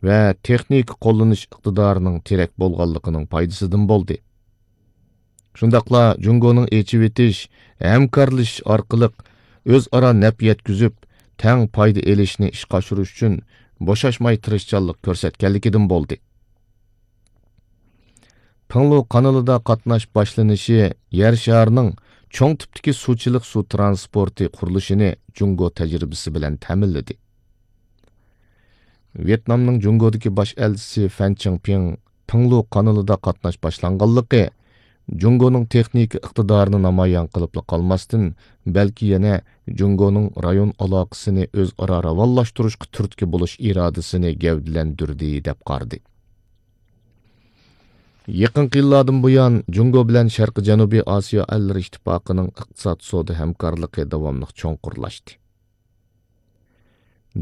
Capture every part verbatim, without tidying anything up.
ۋە تېخنىكا قوللىنىش ئىقتىدارىنىڭ تىرەك بولغانلىقىنىڭ پايدىسىدىن بولدى. شۇنداقلا جۇڭگونىڭ ئېچىۋېتىش، ھەمكارلىشىش ئارقىلىق ئۆزئارا نەپ يەتكۈزۈپ، تەڭ پايدا ئېلىشنى ئىشقا ئاشۇرۇش ئۈچۈن بوشاشماي تىرىشچانلىق كۆرسەتكەنلىكىدىن بولدى. پىڭلۇ قانىلىدا قاتناش باشلىنىشى يەر شارىنىڭ چوڭ تىپتىكى سۇچىلىق سۇ ترانسپورتى قۇرۇلۇشىنى جۇڭگو تەجرىبىسى بىلەن تەمىنلىدى. ۋيېتنامنىڭ جۇڭگودىكى باش ئەلچىسى فەن چىڭپىڭ پىڭلۇ قانىلىدا قاتناش باشلانغانلىقى جۇڭگونىڭ تېخنىكا ئىقتىدارىنى نامايان قىلىپلا قالماستىن، بەلكى يەنە جۇڭگونىڭ رايون ئالاقىسىنى ئۆزئارا راۋانلاشتۇرۇشقا تۈرتكە بولۇش ئىرادىسىنى گەۋدىلەندۈردى، دەپ قارىدى. يېقىنقى يىللاردىن بۇيان، جۇڭگو بىلەن شەرقىي جەنۇبىي ئاسىيا ئەللىرى ئىتتىپاقىنىڭ ئىقتىساد سودا ھەمكارلىقى داۋاملىق چوڭقۇرلاشتى.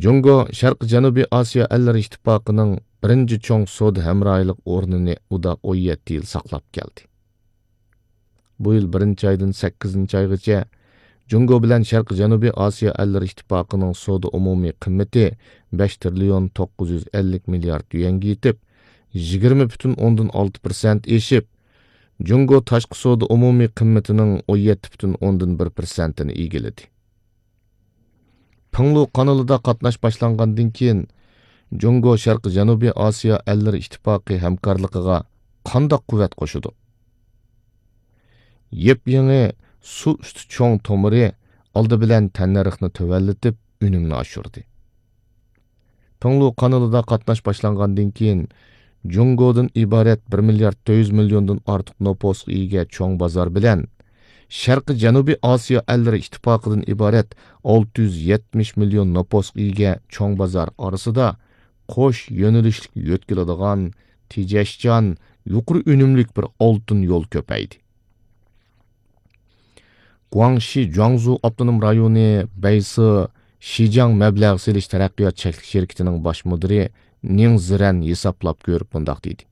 جۇڭگو شەرقىي جەنۇبىي ئاسىيا ئەللىرى ئىتتىپاقىنىڭ بىرىنچى چوڭ سودا ھەمراھلىق ئورنىنى ئۇدا ئون يەتتە يىل ساقلاپ كەلدى. بۇ يىل بىرىنچى ئايدىن سەككىزىنچى ئايغىچە جۇڭگو بىلەن شەرقىي جەنۇبىي ئاسىيا ئەللىرى ئىتتىپاقىنىڭ سودا ئومۇمىي قىممىتى بەش تىرىليون توققۇز يۈز ئەللىك مىليارد يۈەنگە يېتىپ، يىگىرمە پۈتۈن ئوندىن ئالتە پىرسەنت ئېشىپ، جۇڭگو تاشقى سودا ئومۇمىي قىممىتىنىڭ ئون يەتتە پۈتۈن ئوندىن بىر پىرسەنتىنى ئىگىلىدى. پىڭلۇ قانىلىدا قاتناش باشلانغاندىن كېيىن، جۇڭگو شەرقىي جەنۇبىي ئاسىيا ئەللىرى ئىتتىپاقى ھەمكارلىقىغا قانداق قۇۋۋەت قوشىدۇ؟ يېپيېڭى سۇ ئۈستى چوڭ تومۇرى ئالدى بىلەن تەننەرخنى تۆۋەنلىتىپ، ئۈنۈمنى ئاشۇردى. پىڭلۇ قانىلىدا قاتناش باشلانغاندىن كېيىن، جۇڭگودىن ئىبارەت بىر مىليارد تۆت يۈز مىليوندىن ئارتۇق نوپۇسقا ئىگە چوڭ بازار بىلەن، شەرقىي جەنۇبىي ئاسىيا ئەللىرى ئىتتىپاقىدىن ئىبارەت ئالتە يۈز يەتمىش مىليون نوپۇسقا ئىگە چوڭ بازار ئارىسىدا قوش يۆنىلىشلىك يۆتكىلىدىغان، تېجەشچان، يۇقىرى ئۈنۈملۈك بىر ئالتۇن يول كۆپەيدى. گۇاڭشى جۇاڭزۇ ئاپتونوم رايونى بەيسى شىجاڭ مەبلەغ سېلىش تەرەققىيات چەكلىك شىركىتىنىڭ باش مۇدىرى نىڭ زىرەن ھېسابلاپ كۆرۈپ مۇنداق دېدى: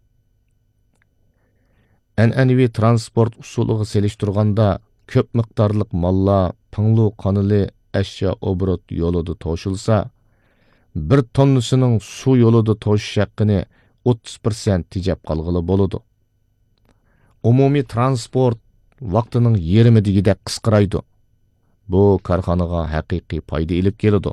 ئەنئەنىۋى ترانسپورت ئۇسۇلىغا سېلىشتۇرغاندا، كۆپ مىقدارلىق ماللار پىڭلۇ قانىلى ئەشيا ئوبوروت يولىدا توشۇلسا، بىر توننىسىنىڭ سۇ يولىدا توشۇش ھەققىنى ئوتتۇز پىرسەنت تېجەپ قالغىلى بولىدۇ. ئومۇمىي ترانسپورت ۋاقتىنىڭ يېرىمى دېگۈدەك قىسقىرايدۇ. بۇ كارخانىغا ھەقىقىي پايدا ئېلىپ كېلىدۇ.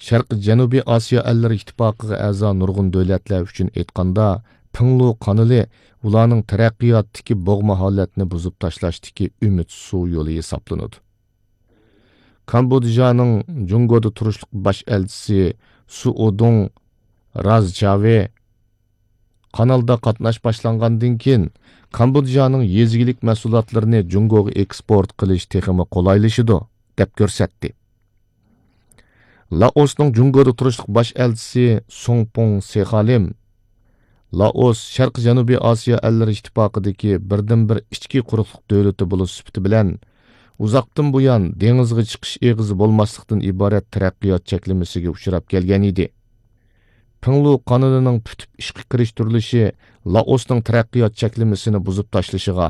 شەرقىي جەنۇبىي ئاسىيا ئەللىرى ئىتتىپاقىغا ئەزا نۇرغۇن دۆلەتلەر ئۈچۈن ئېيتقاندا، پىڭلۇ قانىلى ئۇلارنىڭ تەرەققىياتتىكى بوغما ھالەتنى بۇزۇپ تاشلاشتىكى ئۈمىد سۇ يولى ھېسابلىنىدۇ. كامبودژانىڭ جۇڭگودا تۇرۇشلۇق باش ئەلچىسى سۇئۇدۇڭ رازچاۋې قانالدا قاتناش باشلانغاندىن كېيىن، كامبودژانىڭ يېزا ئىگىلىك مەھسۇلاتلىرىنى جۇڭگوغا ئېكسپورت قىلىش تېخىمۇ قولايلىشىدۇ، دەپ كۆرسەتتى. لائوسنىڭ جۇڭگودا تۇرۇشلۇق باش ئەلچىسى سۇڭپۇڭ سېخالىم، لائوس شەرقىي جەنۇبىي ئاسىيا ئەللىرى ئىتتىپاقىدىكى بىردىنبىر ئىچكى قۇرۇقلۇق دۆلىتى بولۇش سۈپىتى بىلەن، ئۇزاقتىن بۇيان دېڭىزغا چىقىش ئېغىزى بولماسلىقتىن ئىبارەت تەرەققىيات چەكلىمىسىگە ئۇچراپ كەلگەن ئىدى. پىڭلۇ قانىلىنىڭ پۈتۈپ ئىشقا كىرىشتۈرۈلۈشى لائوسنىڭ تەرەققىيات چەكلىمىسىنى بۇزۇپ تاشلىشىغا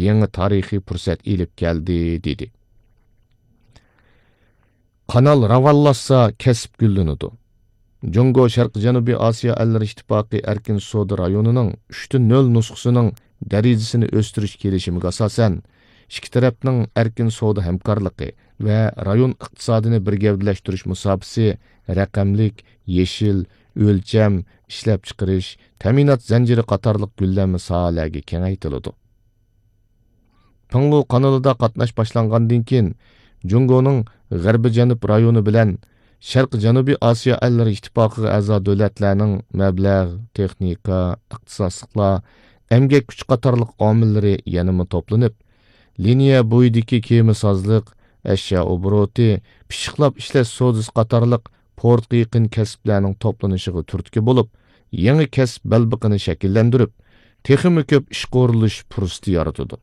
يېڭى تارىخىي پۇرسەت ئېلىپ كەلدى، دېدى. قانال راۋانلاشسا، كەسىپ گۈللىنىدۇ. جۇڭگو شەرقىي جەنۇبىي ئاسىيا ئەللىرى ئىتتىپاقى ئەركىن سودا رايونىنىڭ ئۈچتە نۆل نۇسخىسىنىڭ دەرىجىسىنى ئۆستۈرۈش كېلىشىمىگە ئاساسەن، ئىككى تەرەپنىڭ ئەركىن سودا ھەمكارلىقى ۋە رايون ئىقتىسادىنى بىر گەۋدىلەشتۈرۈش مۇساپىسى رەقەملىك، يېشىل، ئۆلچەم، ئىشلەپچىقىرىش، تەمىنات زەنجىرى قاتارلىق گۈللەنمە ساھەلەرگە كېڭەيتىلىدۇ. پىڭلۇ قانىلىدا قاتناش باشلانغاندىن كېيىن، جۇڭگونىڭ غەربىي جەنۇب رايونى بىلەن شەرقىي جەنۇبىي ئاسىيا ئەللىرى ئىتتىپاقىغا ئەزا دۆلەتلەرنىڭ مەبلەغ، تېخنىكا، ئىختىساسلىقلار، ئەمگەك كۈچى قاتارلىق ئامىللىرى يەنىمۇ توپلىنىپ، لىنىيە بويىدىكى كېمىسازلىق، ئەشيا ئوبوروتى، پىششىقلاپ ئىشلەش سودىسى قاتارلىق پورتقا يېقىن كەسىپلەرنىڭ توپلىنىشىغا تۈرتكە بولۇپ، يېڭى كەسىپ بەلبېقىنى شەكىللەندۈرۈپ، تېخىمۇ كۆپ ئىشقا ئورۇنلىشىش پۇرسىتى يارىتىدۇ.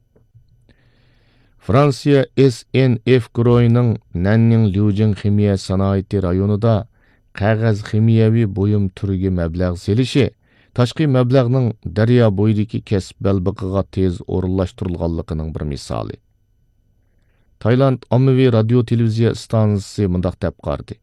فرانسىيە ئېس ئېن ئېف گۇرۇھىنىڭ نەننىڭ ليۇجىڭ خىمىيە سانائىتى رايونىدا قەغەز خىمىيەۋى بۇيۇم تۈرىگە مەبلەغ سېلىشى تاشقى مەبلەغنىڭ دەريا بويىدىكى كەسىپ بەلبېقىغا تېز ئورۇنلاشتۇرۇلغانلىقىنىڭ بىر مىسالى. تايلاند ئاممىۋى رادىيو تېلېۋىزىيە ئىستانسىسى مۇنداق دەپ قارىدى: